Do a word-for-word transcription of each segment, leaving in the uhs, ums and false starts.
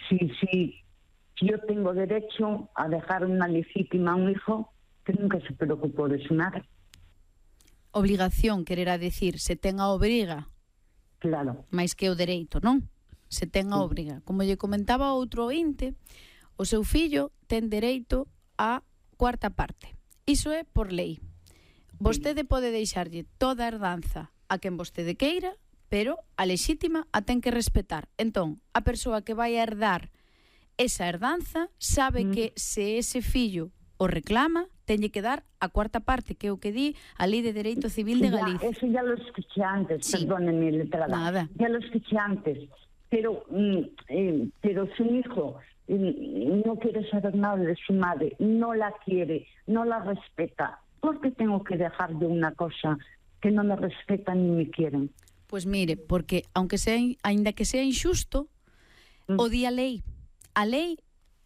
si, si, si yo tengo derecho a dejar una legítima a un hijo que nunca se preocupó de su madre. Obligación, quererá decir, se ten a obriga. Claro. Mais que o dereito, non? Se ten a Sí. obriga. Como lle comentaba outro ointe, o seu fillo ten dereito a cuarta parte. Iso é por lei. Vostede pode deixarlle toda a herdanza a quen vostede queira, pero a lexítima a ten que respetar. Entón, a persoa que vai a herdar esa herdanza sabe Mm. que se ese fillo o reclama, tenlle que dar a cuarta parte, que é o que di a Lei de Dereito Civil de Ya, Galicia. eso ya lo escuché antes, Sí. perdónenme, letrada. Nada. Ya lo escuché antes. Pero, mm, eh, pero su hijo mm, no quiere saber nada de su madre, no la quiere, no la respeta. ¿Por qué tengo que dejar de una cosa que no me respetan ni me quieren? Pois mire, porque aunque sea, aínda que sea injusto, Mm. o di a lei. A lei,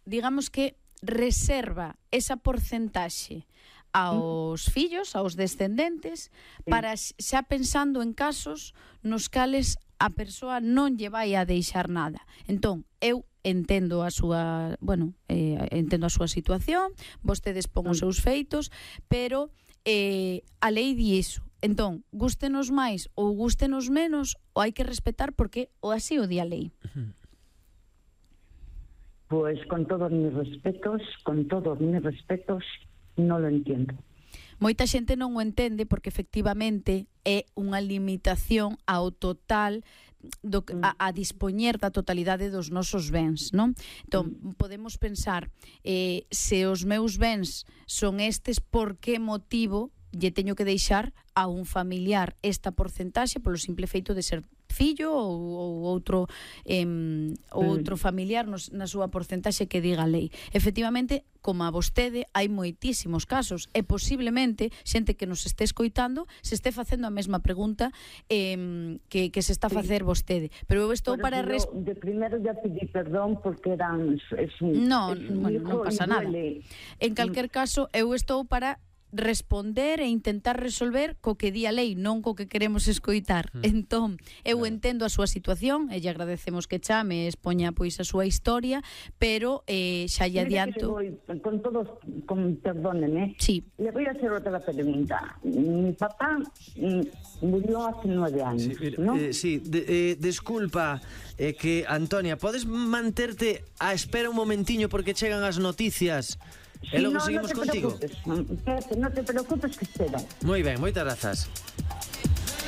digamos que reserva esa porcentaxe aos fillos, aos descendentes, para xa pensando en casos nos cales a persoa non lle vai a deixar nada. Entón, eu entendo a súa, bueno, eh, entendo a súa situación, vostedes pon os seus feitos, pero eh, a lei di iso. Entón, gústenos máis ou gústenos menos, o hai que respetar porque o así o di a lei. Pues con todos mis respetos, con todos mis respetos, no lo entiendo. Moita xente non o entende porque efectivamente é unha limitación ao total do, a, a dispoñer da totalidade dos nosos bens, non? Entón, podemos pensar eh, se os meus bens son estes, por que motivo lle teño que deixar a un familiar esta porcentaxe polo simple feito de ser fillo ou, ou outro eh, ou outro familiar nos, na súa porcentaxe que diga a lei. Efectivamente, como a vostede, hai moitísimos casos e posiblemente xente que nos este escoitando se este facendo a mesma pregunta eh, que, que se está a facer vostede. Pero eu estou Por para... eso Res... yo, de primero ya pedí perdón porque eran... Es un, No, es un bueno, hijo non pasa y nada. duele. En calquer caso, eu estou para responder e intentar resolver co que di a lei, non co que queremos escoitar. Mm. Entón, eu claro. entendo a súa situación e lle agradecemos que chame e expoña pois a súa historia, pero eh, xa lle adianto... Voy, con todos, con, perdónenme, sí. Le voy a hacer otra pregunta. Mi papá mm, murió hace nueve años, sí, ¿no? Eh, sí, de, eh, disculpa eh, que, Antonia, podes manterte a espera un momentiño porque chegan as noticias. Sí, e logo no, seguimos no te contigo. Preocupes, no te preocupes que espera. Moi ben, moitas grazas.